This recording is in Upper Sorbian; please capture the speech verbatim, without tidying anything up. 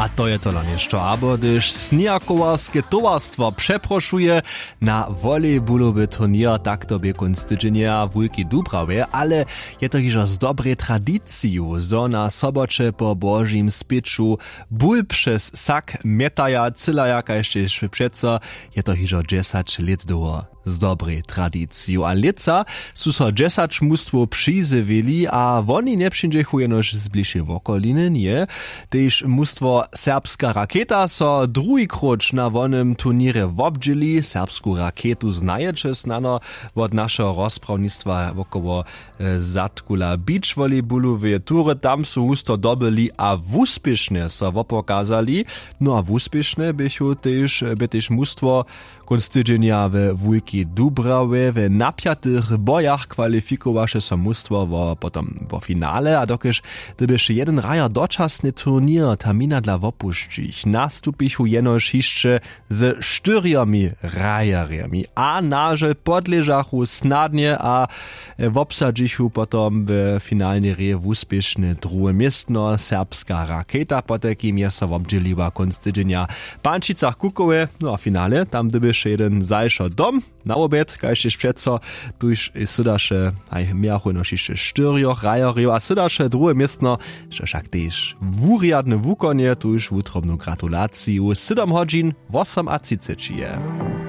A to je tola něšto abo hdyž sněhakowarske towarstwo přeprošuje na volejbulowy turněr, tak to bě kónc tydźenja w wulkej dubrawje. Ale je to hižo z dobrej tradiciju zo na soboće po božim spěću bul přez sak mjetaja cylaja kaž tež přeco je to hižo dźesać lět dołho. Z dobrej tradiciju a lětsa su so dźesać mustwow přizjewili a woni njepřińdźechu jenož z blišej wokoliny nje. Tež mustwo serbska raketa so druhi króć na wonym turněrje wobdźěli. Serbsku raketu znajeće snano wot našeho rozprawnictwa wokoło zadkula beach volleybulu w tury tam su husto dobyli a wuspěšnje so wopokazali. No a wuspěšnje běchu tež bě tež mustwo kónc tydźenja we wulkej dubrawje w napjatych bojach kwalifikowaše so mustwo wo potom wo finale a dokelž dyrbiše jedyn hrajer dočasny turněr termina dla wopušćić nastupichu jenož hišće ze štyrjomi hrajerjemi a nažel podležachu snadnje a wobsadźichu potom w finalnej reje wuspěšne druhe městno serbska raketa potajkim je so wobdźěliła kónc tydźenja w pančicach kukowe. No a finale tam dyrbješe jedyn zašo dom na wobjed kaž tež přeco tuž sydaše haj mějachu jenož hišće štyrjoch hrajerjow a sydaše druhe městno, što wšak tež wurjadne wukonje tuž wutrobnu gratulaciju sydom hodźin wosomatřiceći je.